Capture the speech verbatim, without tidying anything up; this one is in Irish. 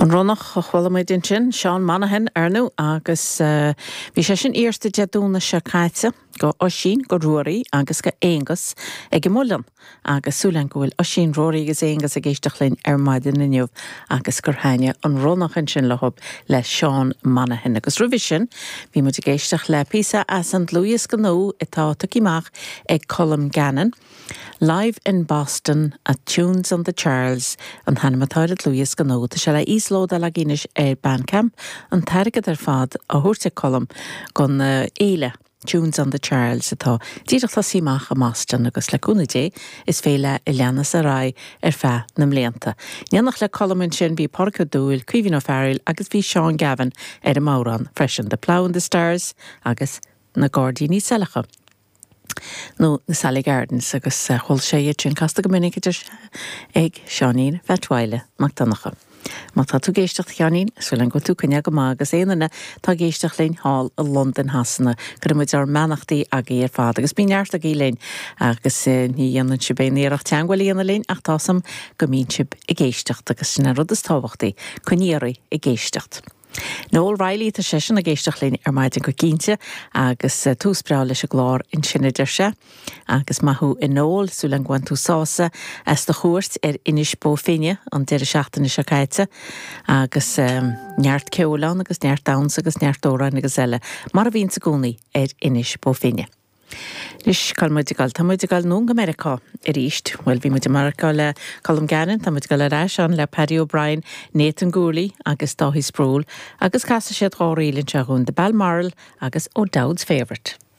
An Ronnach a chuala muid ansin, Seán Monaghan ar ndóigh, agus bhí sé sin iarrta Dé Domhnaigh seo caite go Oisín, go Ruairí agus go Aonghus ag an Muileann agus súil agam go bhfuil Oisín, Ruairí agus Aonghus ag éisteacht linn ar maidin inniu agus gur thaitnigh an Ronnach ansin leo le Seán Monaghan. Agus roimhe sin bhí muid ag éisteacht le píosa as an dlúthdhiosca nua atá tugtha amach ag Colm Gannon. Live in Boston at Tunes on the Charles an t-ainm atá ar an dlúthdhiosca nua tá sé le íoslódáil againn ar Bandcamp an t-airgead ar fad á thabhairt ag Colm don fhéile Tunes on the Charles atá díreach tosaithe amach i mBoston agus le cúnamh Dé is féile a leanas ar aghaidh ar feadh na mblianta. In éineacht le Colm ansin bhí Pádraig Ó Dúill, Caoimhín Ó Fearghail agus bhí Seán Gavin ar an mbodhrán freisin, The Plough and the Stars agus na Gairdíní Saileacha. nó na Sally Gardens agus chuala sé iad sin casta go minic idir ag Seáinín Bheatmhaile Mac Donncha. Má tá tú ag éisteacht Sheáinín, súil go tú cynne go má agus éanana tá ag éisteacht linn thall i Londain Shasana, cuirimid ár mbeannachtaí agaibh ar fad agus bí neart agaibh linn agus ní dhéanann sibh aon iarracht teagmháil a dhéanamh linn ach tá a fhios agam go mbíonn sibh ag éisteacht agus sin an rud is tábhachtaí, coinnigh oraibh ag éisteacht. Noel Riley tá seisean ag éisteacht linn ar maidin go cinnte agus tús breá leis an gclár ansin a deir sé. Agus maith thú a Noel súil agam gur bhain tú sásamh as do chuairt ar Inis Bó Finne an deireadh seachtaine seo caite agus um, neart ceoil ann agus neart damhsa agus neart amhráin agus eile, mar a bhíonn i gcónaí ar Inis Bó Finne. Anois cá muid ag dul Tá muid ag dul anonn go Meiriceá arís, Well bhí muid i Meiriceá le Colm Gannon, tá muid ag dul ar ais ann le Paddy O'Brien, Nathan Gourley agus Dáithí Sproule, agus casfaidh siad dhá ríl anseo dúinn The Balmoral agus O'Dowd's Favourite.